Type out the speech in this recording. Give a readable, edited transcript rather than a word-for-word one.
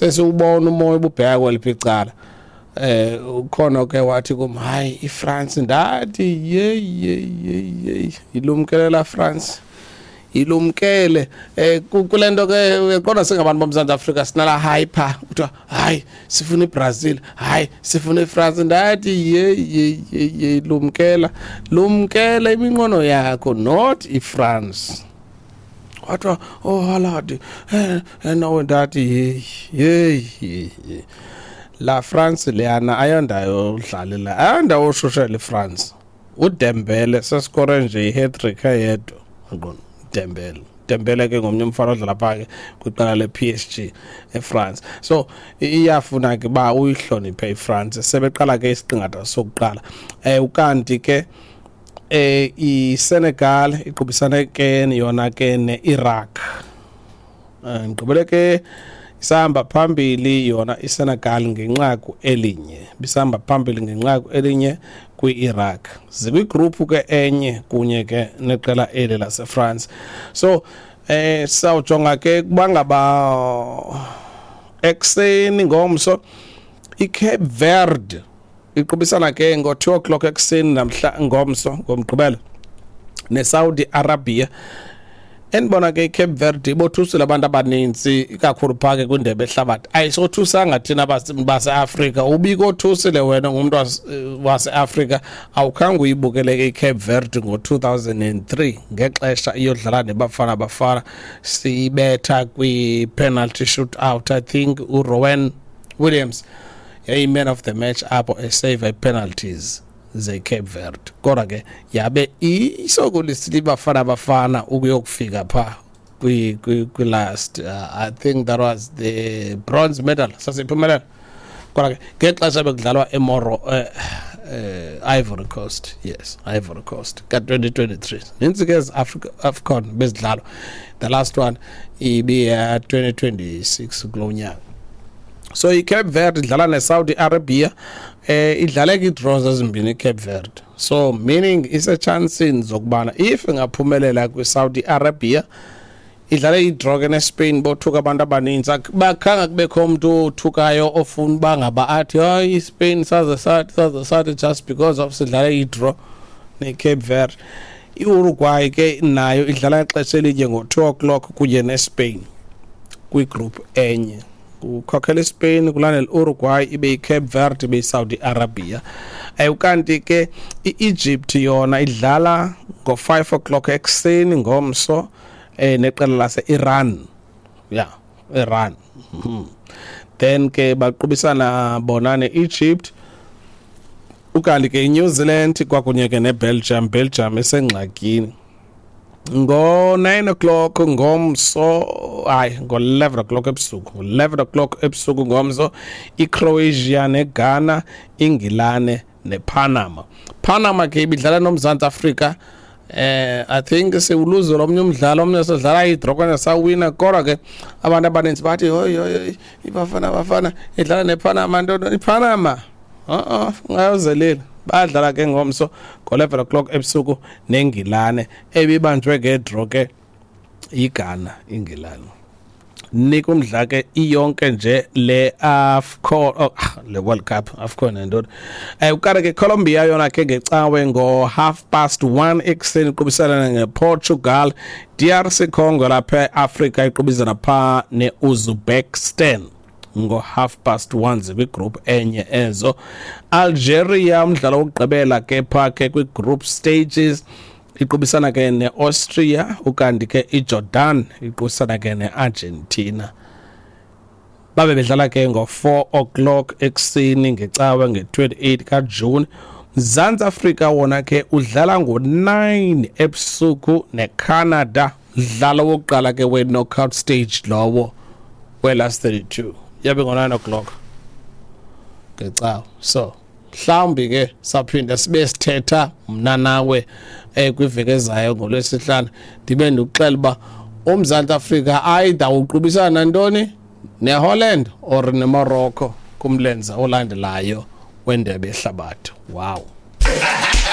Sesiwubona umoya ububheka kweliphi icala. Ukhona ke wathi kum, hayi, iFrance. Ndathi, ye ye ye ye, ilumkele la France, ilumkele. Kule nto ke uyaqonda, singabantu boMzantsi Afrika sinala hyper, kuthiwa hayi, sifuna iBrazil, hayi, sifuna iFrance. Ndathi, ye ye ye ye, lumkela, lumkela iminqono yakho, not iFrance. Wathiwa, oh, Haaland, no. Ndathi, hey hey hey, la France leyana ayondawo udlalela, ayondawo oshushela iFrance. UDembele seskore nje i-hat-trick eyedwa, aqona Dembele. Dembele ke ngomnye umfana odlala phaa ke kwiqela le-PSG eFrance, so iyafuna ke uba uyihloniphe iFrance. Sebeqala ke isiqingatha sokuqala. Ukanti ke iSenegal iqubisane ke yona ke neIraq. Ngigqibele ke isahamba phambili yona iSenegal ngenqaku elinye, bisahamba phambili ngenqaku elinye kwi-Iraq. Zikwigroup ke enye kunye ke neqela eli laseFrance. So sawujonga ke kuba ngaba ekuseni ngomso iCape Verde iqubisana ke ngo-2 o'clock ekuseni namhla, ngomso ngoMgqibelo, neSaudi Arabia. Endibona ke iCape Verde ibothusile abantu abaninzi ikakhulu phaa ke kwindebe ehlabathi. Ayisothusanga thina baseAfrika, ubikothusile wena ngumntu waseAfrika awukhange uyibukele ke iCape Verde ngo-2003 ngexesha iyodlala neBafana Bafana, siyibetha kwi-penalty shoot out. I think uRowan Williams yayi-man of the match apho esave ii-penalties ze-Cape Verde, kodwa ke yabe isokolisile iBafana Bafana ukuyokufika phaa kwi-last, I think that was the bronze medal sasiphumelela, kodwa ke ngexesha bekudlalwa eMoro, Ivory Coast, yes, Ivory Coast ka-2023. Nintsi ke ezi Africa AFCON bezidlalwa, the last one ibiya 2026 kulo nyaka. So iCape Verde idlala neSaudi Arabia. Idlale kii-draws ezimbini iCape Verde, so meaning isechansini zokubana if ingaphumelela kwiSaudi Arabia. Idlale idraw ke neSpain, bothuka abantu abaninzi. Bakhanga kubekho umuntu othukayo ofuna uba ngaba athi, hayi, iSpain saze sathi, saze sathi, just because of sidlale idraw neCape Verde. IUruguay ke nayo idlala ixesha elinye ngo-2 o'clock kunye neSpain kwigroup enye. Kukhokhela iSpain, kulandela Uruguay, ibe yiCape Verde, ibe yiSaudi Arabia. Ukanti ke iEgypt yona idlala ngo-5 o'clock ekuseni ngomso neqela lase-Iran, yeah, Iran. Then ke baqubisana bona ne-Egypt. Ukanti ke iNew Zealand kwakunye ke neBelgium, Belgium esengxakini, ngo-9 o'clock ngomso, hayi, ngo-11 o'clock ebusuku, ngo-11 o'clock ebusuku ngomso, iCroatia neGhana, iNgilane nePanama. Panama ke ibidlala noMzantsi Afrika. I think siwuluze lomnye umdlalo, omnye sidlala idraw okanye sawina, kodwa ke abantu abaninzi bathi, hoyi hoyi, iBafana Bafana idlala nePanama, nto iPanama ungayozelela. Badlala ke ngomso ngo-11 o'clock ebusuku neNgilane ebibanjwe ngedraw ke iGhana, iNgilane. Nika umdla ke iyonke nje le AFCON, oh, le World Cup, AFCON nantoni. Ukanti ke Colombia yona ke ngecawe ngo 1:30 ekuseni iqubisana ngePortugal. DRC Congo lapha eAfrica iqubisana pha neUzbekistan ngo 1:30, zikwigroup enye ezo. Algeria, umdlalo wokugqibela ke pha ke kwi-group stages, iqubisana ke ne-Austria. Ukanti ke iJordan iqubisana ke ne-Argentina. Babe bedlala ke ngo-4 o'clock ekuseni ngecawe nge-28 kaJuni. Mzantsi Afrika wona ke udlala ngo-9 ebusuku neCanada, dlalo wokuqala ke we-knockout stage lowo we-last 32, yabe ngo-9 o'clock ngecawe. So mhlawumbi ke saphinda sibe sithetha mna nawe kwiveki ezayo ngoLwesihlanu, ndibe ndikuxela uba uMzantsi Afrika either uqubisana nantoni, neHolland or neMorocco kumlenze olandelayo wendebe yehlabathi. Wow.